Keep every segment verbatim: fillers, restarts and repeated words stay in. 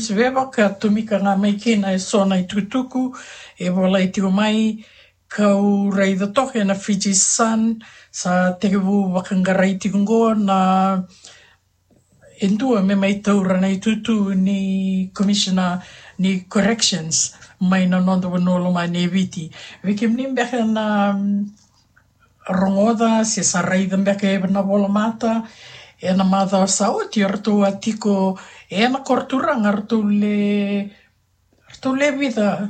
Veva ka tomika ga mai kina e so na itukutuku e volai tiko mai, kau raica toka ena Fiji Sun, sa tekivu vakaqarai tiko qo na e dua me mai taura na itutu ni commissioner ni corrections mai na noda vanua lomani e Viti. Vei kemuni beka na, mm, rogoca se sa raica beka e na volamata, ena macawa sa oti o ratou a tiko ena koro turaga, ratou le, ratou le vica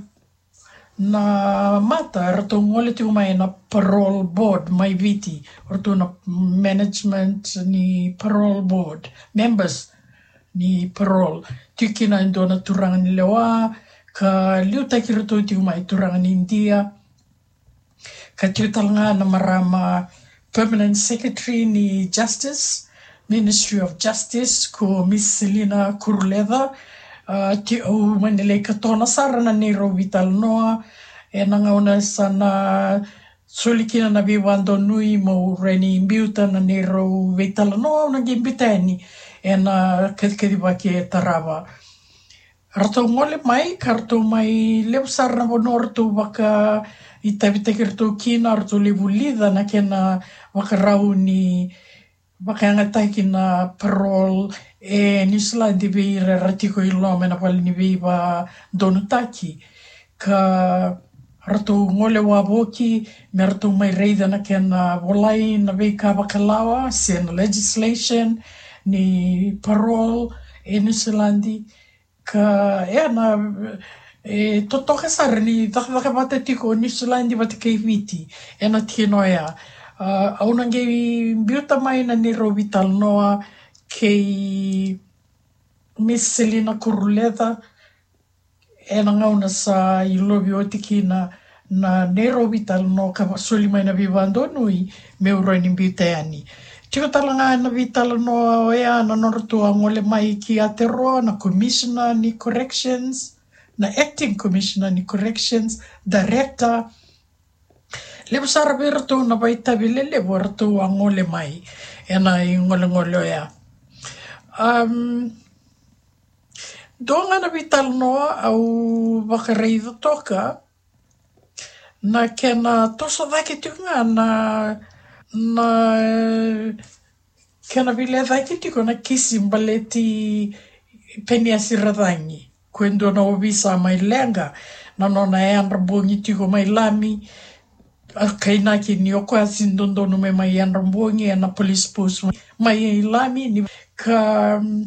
na mata ratou gole tiko mai na parole board mai Viti, ratou na management ni parole board, members ni parole. Tiko kina e dua na turaga ni lewa, ka liutaki ratou tiko mai turaga ni India. Ka tiko tale ga na marama permanent secretary ni Justice, Ministry of Justice, ko Miss Selina Kuruletha. Ah, ti au mani lai katona sara na neirau veitalanoa ena gauna sa na soli kina na veivadonui meu rawa ni biuta na neirau veitalanoa, au na qai biuta yani ena kacikacivaki e tarava. Ratou gole mai, ka ratou mai levu sara na vanua ratou vakaitavitaki ratou kina, ratou levu lica na kena vakarau ni vakayagataki na parole e Niusiladi vei ira era tiko i loma ena vale ni veivadonutaki. Ka ratou gole wavoki me ratou mai raica na kena volai na veika vakalawa se na legislation ni parole e Niusiladi. Ka ena, e totoka sara ni cakacaka vata tiko o Niusiladi vata kei Viti ena tikina oya. Ah, au na qai biuta mai na neirau veitalanoa kei Miss Selina Kuruletha ena gauna sa ilovi oti kina na neirau veitalanoa ka soli mai na veivadonui meu rawa ni biuta yani. Tiko tale ga na veitalanoa oya na nodratou a gole mai ki Aotearoa na commissioner ni corrections, na acting commissioner ni corrections, director. Levu sara vei ratou na vakaitavi lelevu eratou a gole mai ena igolegole oya. Um, dua ga na veitalanoa au vakaraica toka na kena toso cake tiko ga na, na kena veilecayaki tiko na kisi baleti Peniasi Racagi, ko e dua na ovisa mai Leqa, na nona yadra bogi tiko mai Lami. A kainaki ni o koya sega ni dodonu me mai yadra bogi ena police post mai Lami, ni ka, mm,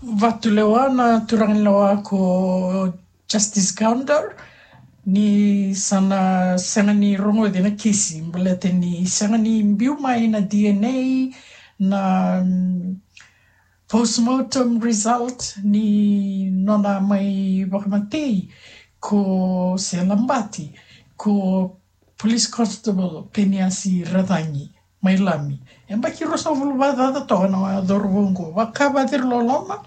vatulewa na turaga ni lewa ko Justice Gounder ni sa na sega ni rogoci na kisi baleta ni sega ni biu mai na D N A, na, mm, postmortem result ni nona mai vakamatei ko se labati ko Police Constable Peniasi Racagi mai Lami. E baki ruasagavulu vakacaca toka na cauravou oqo, vaka vakaciriloloma.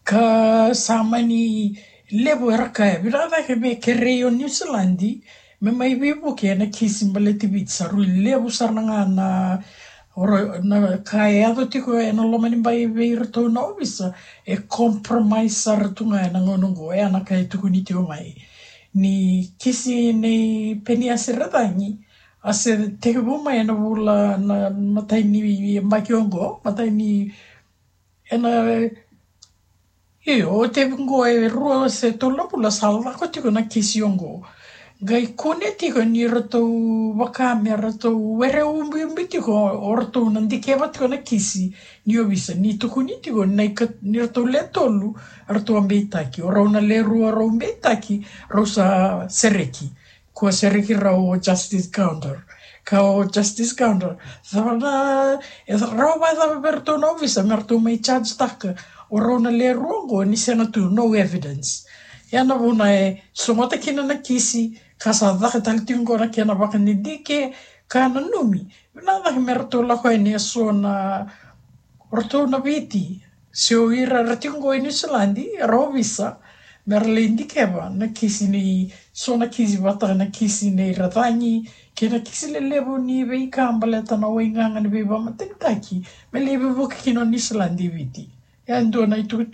Ka sa mani levu era kaya, vinaka cake me kerei o Niusiladi me mai veivuke ena kisi baleti Viti. Sa rui levu sara ga na, ora, na ka e yaco tiko ena loma ni bai vei iratou na ovisa e compromise sara tu ga ena gauna oqo. E a na ka e tukuni tiko mai ni kisi nei Peniasi Racagi a se tekivu mai ena vula, na matai ni yabaki oqo, matai ni, ena, io, o tekivu oqo e rua se tolu na vula sa lako tiko na kisi oqo. Qai kune tiko ni ratou vaka me ratou were ubiubi tiko o ratou na dikeva tiko na kisi ni ovisa, ni tukuni tiko na ika, ni ratou le tolu ratou a beitaki, o rau na le rua rau beitaki, rau sa sereki. Kua sereki rau o Justice Gounder. Ka o Justice Gounder, cava na, e rawa vakacava vei ratou na ovisa me ratou mai charge taka o rau na le rua oqo ni sega tu, no evidence. Ia na vuna e sogota kina na kisi, ka sa caka tale tiko oqo na kena vakadidike, ka nanumi. Vinaka cake me ratou lako yani e so na, o ratou na Viti, se o ira era tiko oqo e Niusiladi, era ovisa, me ra lai dikeva na kisi nei, so na kisi vata na kisi nei Racagi, kei na kisi lelevu ni veika baleta na waigaga ni veivakamatenitaki, me lai veivuke kina o Niusiladi i Viti. E a dua na itukutuku